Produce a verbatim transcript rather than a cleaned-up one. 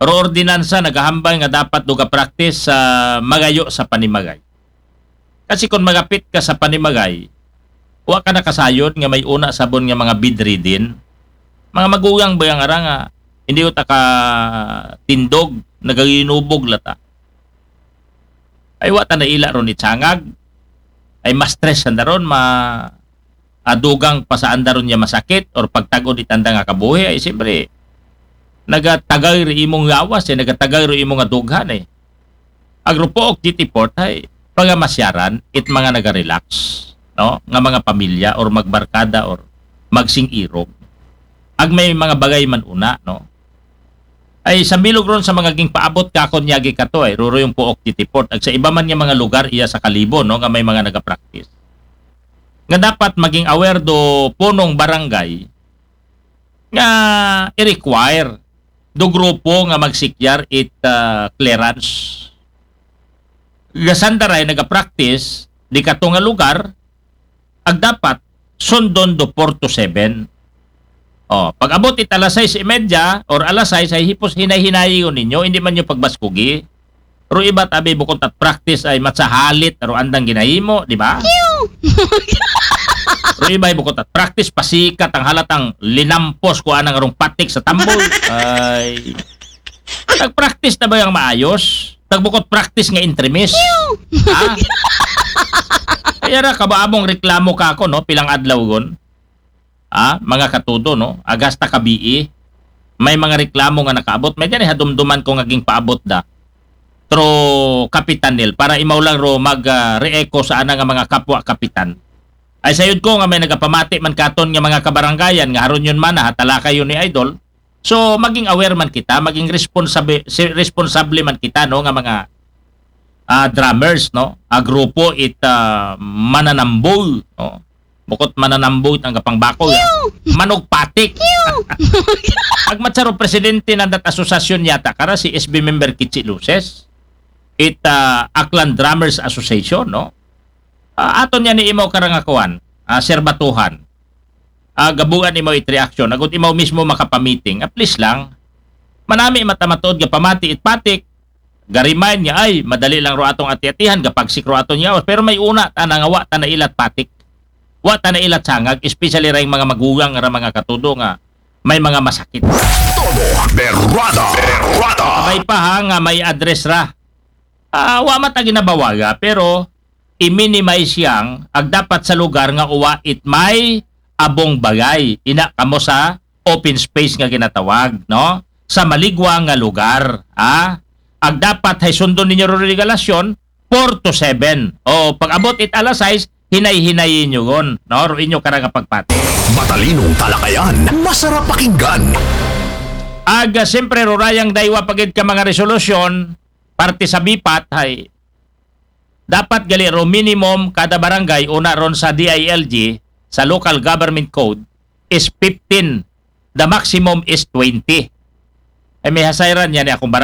Pero ordinansa nagahambal nga dapat do ga-practice sa magayo sa panimagay. Kasi kung magapit ka sa panimagay, wa ka nakasayod nga may una sabon nga mga bedridden. Mga magugang ba yang ara nga hindi uta ka tindog, nagaginubog lata. Ay wa ta na ila ron itsangag. Ay ma-stress sanda ron, ma adugang pa sa anda ron niya masakit or pagtagod itanda nga kabuhi, ay siyempre nagatagay ri imong lawas eh, nagatagay ri imong adughan eh. Agrupook G T Port ay pagamasyaran it mga naga-relax, no? Nga mga pamilya or magbarkada or magsing-irog. Ag may mga bagay man una, no? Ay sa bilog ron sa mga gingpaabot kakon niya gikato ay ruro yung Puok G T Port. Ag sa iba man nga mga lugar iya sa Kalibo, no, nga may mga nagapractice. Nga dapat maging aware do punong barangay nga i-require do grupo nga magsikyar it ah, clearance. Gasandaray nagapractice di kato nga lugar, ag dapat sundon do four to seven. Oh, pag abot it alas sais y media or alas sais ay hipos hinay-hinayi ko ninyo, hindi man nyo pagbaskugi. Pero iba tabi bukod at practice ay matsahalit aro andang ginahimo, di ba? Pero iba ay bukod at practice pasikat ang halatang linampos ko anang arong patik sa tambol. Ay, nag-practice na ba yung maayos? Nagbukod practice nga intremis? Ha? Kaya ra kabaabong reklamo ka ako, no? Pilang adlaw gon. Ah, mga katudo, no? Agasta kabii. May mga reklamo nga nakaabot. May dyan eh, hadumduman ko nga ging paabot da. Tro Kapitan Nel, para imaw lang ro mag ah, re-echo sa ana nga mga kapwa kapitan. Ay sayod ko nga may nagapamati man katon nga mga kabarangayan nga haron yun man ha, talakay yun ni Idol. So maging aware man kita, maging responsabe, si- responsable man kita, no, nga mga ah, drummers, no, a grupo it ah, mananambol, no. Bukod mananambol ang gapangbako, manugpatik. Agmatsaro presidente ng dat asosasyon yata kara si S B member Kichi Luces, it ah, Aklan Drummers Association, no. Ah, aton yan ni imaw karangakuan, ah, serbatuhan. Ah, gabuan imaw it reaction, agot imaw mismo makapamiting, at least lang. Manami matamatuod nga pamati it patik, ga-remind nga ay madali lang ro atong ati-atihan, gapagsik ro aton yawas, pero may una ta na nga wa ta na ilat patik, wa ta na ilat sangag, especially ra yung mga magugang ra mga katudo nga may mga masakit. Todo Berrada. Berrada. May pa ha nga may address ra. Ah, wa man ta ginabawaga, pero i-minimize yang ag dapat sa lugar nga uwa it may abong bagay. Ina kamo sa open space nga ginatawag, no? Sa maligwa nga lugar, ha? Ag dapat hay sundon ninyo ro regalasyon four to seven. O pag abot it alas sais, hinay-hinayin nyo gon, no? Ro inyo karang pagpati. Matalinong talakayan, masarap pakinggan. Ag ah, siyempre rurayang daywa pagid ka mga resolusyon parte sa bipat hay dapat gali ro minimum kada barangay una ron sa D I L G sa local government code is fifteen, the maximum is twenty. Ay may hasayran yan ni akong barangay.